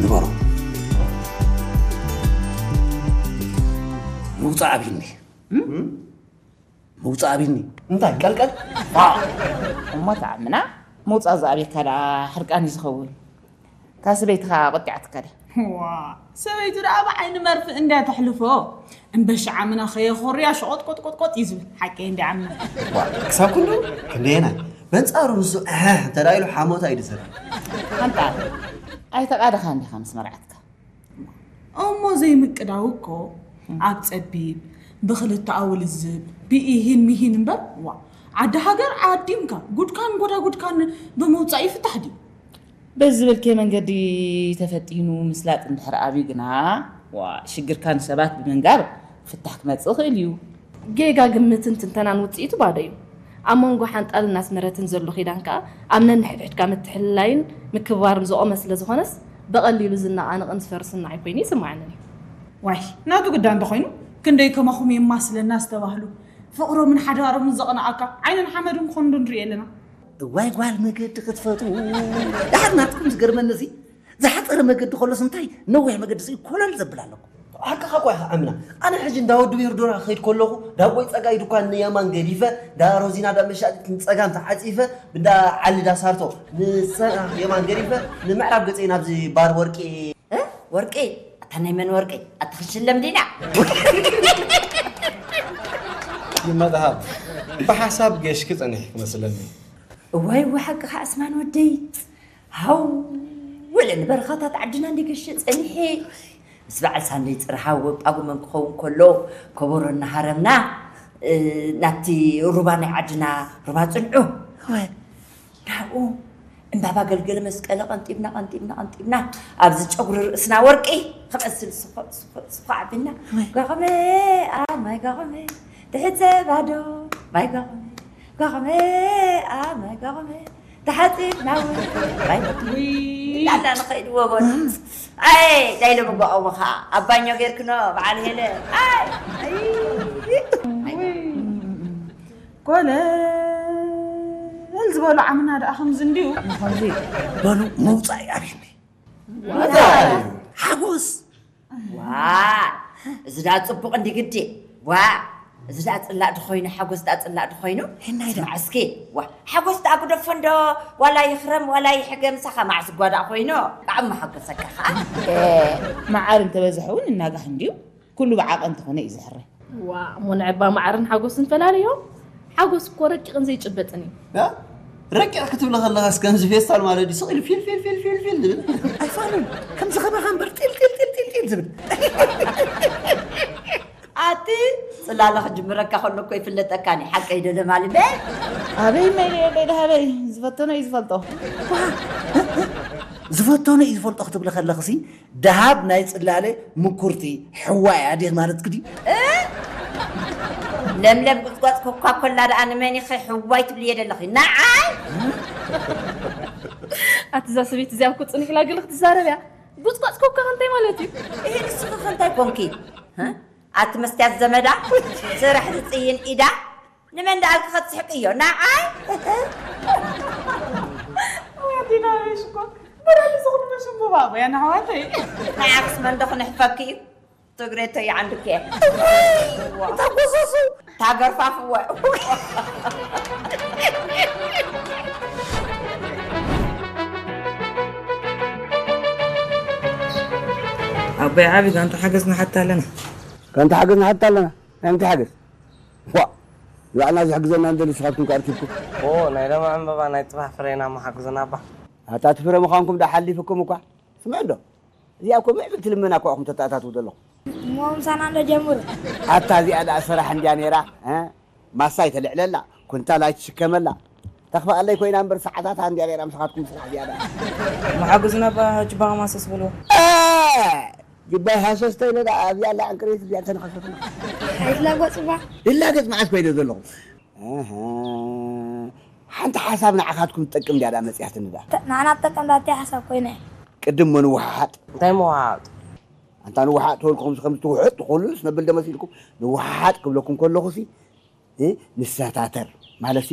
ንበሮ። ምውፃእ ኣብይኒ። ምውፃእ ኣብይኒ። እንታይ ቀልቀል? ዋ፣ እሞ ተኣምና ምውፃእ ዝኣብየካ ደኣ ሕርቃን እዩ ዝኸውን። እታ ሰበይትኻ ቆጢዓትካ ድያ? ዋ፣ ሰበይቱ ደኣ ብዓይኒ መርፍእ እንድያ ተሕልፎ። እምበሺ ዓምና ከየኾርያ ሸቖጥ ቆጥ ቆጥ ቆጥ እዩ ዝብል። ሓቀይ እንድያ ዓምና። ዋ፣ ክሳብ ክንዱ ክንደየናይ? በንጻሩ ንሱ እህ እንተ ደኣ ኢሉ ሓሞታ እዩ ዝሰርሕ። ኣንታ ኣይተቓደኻን ዲኻ ምስ መርዓትካ? እሞ ዘይምቅዳው እኮ ኣብ ጸቢብ፣ ብኽልተኣዊ ልዝብ፣ ብኢሂን ሚሂን እምበር፣ ዋ፣ ዓዲ ሃገር ዓዲምካ፣ ጉድካን ጎዳጉድካን ብምውጻእ ይፍታሕ ድዩ? በዚ ዝበልክዮ መንገዲ ተፈቲኑ ምስላጥ እንድሕር ኣብዩ ግና፣ ዋ፣ ሽግርካ ንሰባት ብምንጋር ፍታሕ ክመጽእ ይኽእል እዩ። ጌጋ ግምትን ትንተናን ውጽኢቱ ባዶ እዩ። ኣብ መንጎ ሓንጣልን ኣስመረትን ዘሎ ኪዳን ከኣ ኣብ ነንሕድሕድካ ምትሕልላይን ምክብባርን ዝቖመ ስለ ዝኾነስ፣ ብቐሊሉ ዝነቓነቕን ዝፈርስን ንዓይ ኮይኑ ይስምዓንን እዩ። ዋይ፣ ናቱ ግዳ እንተኾይኑ፣ ክንደይ ከማኹም የማስለና ዝተባህሉ፣ ፍቕሮምን ሓዳሮምን ዘቕንኣካ ዓይንን ሓመድን ክኾኑ ዶ ንርኢ ኣለና? እዋይ ጓል መገዲ ክትፈትዉ። ደሓር ናትኩም ዝገርመኒ እዚ ዝሓፀረ መገዲ ከሎስ እንታይ ነዊሕ መገዲ ስኢ ኮለል ዘብል ኣለኩም። ሓቅኻ እኮ ኢኻ ኣምና። ኣነ ሕጂ እንዳ ወዲ ቤርዶራ ክኸይድ ከለኹ ዳቦይ ፀጋይ ድኳን ንየማን ገዲፈ፣ እንዳ ሮዚና ዳ መሻጢት ንፀጋም ተዓፂፈ፣ እንዳ ዓሊ ዳ ሳርቶ ንሰ-፣ የማን ገዲፈ፣ ንምዕራብ ገፀይ ናብዚ ባር ወርቂ። እ? ወርቂ? ኣታ ናይ መን ወርቂ? ኣታ ክሽለም ዲና? ይመድሃብ፣ ብሓሳብ ገሽኪ ጸኒሕኪ መስለኒ። እዋይ፣ እዋ ሓቅኻ ኣስማን ወደይ። ሃው፣ ወለ ንበረኻታት ዓድና እንዲገሸ ጸኒሐ። ምስ በዓል ሳንደይ ጽርሃ ወብ ጳጉመን ክኸውን ከሎ፣ ከበሮ እናሃረምና፣ እ፣ ናብቲ ሩባ ናይ ዓድና ሩባ ጽንዑ። እወ። ናብኡ እምባባ ገልገለ መስቀለ ቀንጢብና፣ ቀንጢብና፣ ቀንጢብና፣ ኣብዚ ጨጉሪ ርእስና ወርቂ ክመስል ስኾ-፣ ስኾ-፣ ስኾ ኣቢልና፣ እወ። ጓኸመ፣ ኣብ ማይ ጓኸመ፣ ትሕተ ባዶ፣ ማይ ጓኸመ፣ ጓኸመ፣ ኣብ ማይ ጓኸመ፣ ተሓጺብና እውን፣ ማይ ጓኸመ፣ ውይ። እንዳልና ንኸይድ ወጎን። ኣይ፣ ዳይሎ መጓቐሙ ኸዓ፣ ኣብ ባኞ ጌርክኖ፣ በዓል ሄለ። ኣይ፣ ኣይ፣ ኣይ። ውይ። ኮለል ዝበሉ ዓምና ደኣ ከምዚ እንድዩ። ከምዚ በሉ፣ መውጻኢ ኣብይኒ። እንታይ? ሓጎስ። ዋ፣ እዚ ደኣ ጽቡቕ እንዲ ግዲ። ዋ፣ እዚ ደኣ ጽላእ ድኾይኑ፣ ሓጎስ ደኣ ጽላእ ድኾይኑ። ሄናይ ደኣ። ስማዕ እስኪ፣ ዋ፣ ሓጎስ ደኣ ግደፎ እንዶ፣ ዋላ ይኽረም፣ ዋላ ይሕገ፣ ምሳኻ መዓስ እኳ ደኣ ኮይኑ፣ ብጣዕሚ መሓጎሰካ ኸኣ። እ፣ መዓር እንተበዝሐ እውን እናጋህ እንድዩ። ኩሉ ብዓቐን እንተኾነ እዩ ዝሕረ። ዋ፣ እሞ ንዕባ መዓርን ሓጎስን ፈላልዮ። ሓጎስ እኮ ረቂቕን ዘይጭበጥን እዩ። ያ? ረቂቕ ክትብሊ ከለኻስ ከምዚ ፌስታል ማለት ድዩ? ስቕ ኢሉ ፊል፣ ፊል፣ ፊል፣ ፊል፣ ፊል ዝብል። ኣይፋሉን። ከምዚ ከማኻ እምበር ጢል፣ ጢል፣ ጢል፣ ጢል፣ ጢል ዝብል። ኣቲ ጽላለ ክጅምረካ ከሎ እኮ ይፍለጠካኒ። ሓቀይ ዶ ለማሊ በል? ኣበይ መይለ የለይ ደሃበይ። ዝፈተኖ እዩ ዝፈልጦ። ዋ! ዝፈተኖ እዩ ዝፈልጦ ክትብሊ ከለኽሲ፣ ደሃብ ናይ ጽላለ ምኩርቲ ሕዋ እያ ዲኽ ማለትኪ ድዩ? እ? ለምለም ጉጽጓጽ ኮካ ኮላ ደኣ ንመን ኢኺ ሕዋይ ትብልዮ ዘለኺ? ንዓይ? ኣቲ እዛ ሰበይቲ እዚኣ እኮ ጽኒሕ ኢላ ገለ ክትዛረብ እያ። ጉጽጓጽ ኮካ ከ እንታይ ማለት እዩ? እሄ ንስኺ ከ እንታይ ኮንኪ? እ? ኣቲ መስትያት ዘመዳ፣ ስራሕ ዝጽይን ኢዳ፣ ንመን ደኣልኪ ከትስሕቅዮ? ንዓይ? ኣዴና ሽኮር፣ በራሊ ዝኹን መሽም ብባቦ፣ ያ ንኣሕዋተይ። ንዓክስ መን ዶ ክንሕፈኪ እዩ? ትግሬቶ ይዓንድኪ እየ። እታ ጎሶሱ! እታ ገርፋፍወ! ኣቦይ ዓቢ፣ ጋንታ ሓገዝ ንሓታ ኣለና። ጋንታ ሓገዝ ንሓታ ኣለና? ናይ ምንታይ ሓገዝ? ዋ! ንባዕልና ዝሕግዘና እንደሊ ንስኻትኩም ከ ኣርኪብኩም? ኦ፣ ናይ ሎሚ ዕምበባ ናይ ጽባሕ ፍሬና እሞ ሓግዙና እባ። ኣታ እቲ ፍረ ምዃንኩም ደኣ ሓሊፉኩም እኳ። ስምዕ እንዶ፣ እዚኣ እኮ ምዕብልቲ ልመና እኮ ኢኹም ተተኣታትዉ ዘለኹም። እሞ ምሳና እንዶ ጀምሩ። ኣታ እዚኣ ደኣ ስራሕ እንድያ ነይራ፣ እ? ማሳ ኣይተልዕለላ፣ ኩንታል ኣይትሽከመላ። ተኽፍኣለይ ኮይና እምበር ሰዓታታ እንድያ ነይራ ምሳኻትኩም ስራሕ ዝያዳ። እሞ ሓግዙና እባ ጅባኻ ማሰስ በልዎ። እ! ጅባይ ሃሰስ ተይለ ደኣ ኣብዚኣ ኣላ ዕንቅርቢት እዚኣ እንተነኸሰትና። ኣይትላገጹ እባ። ይላገጽ መዓስ ኮይነ ዘለኹ? ኣሃ። ሓንቲ ሓሳብ ንዓኻትኩም ትጠቅም ድያ ደኣ መጺኣትኒ ደኣ? ተ-፣ ንዓና ትጠቅም ደኣ እንታይ ሓሳብ ኮይነ? ቅድም ምንውሓጥ። እንታይ ምውሓጥ? ኣንታ ንውሓጥ ተበልኩ ከምዚ ከምዚ ትውሕጥ ትኾኑስ ነብል ዶ መሲልኩም? ንውሓጥ ክብለኩም ከለኹሲ፣ እ፣ ንሰታተር ማለትሲ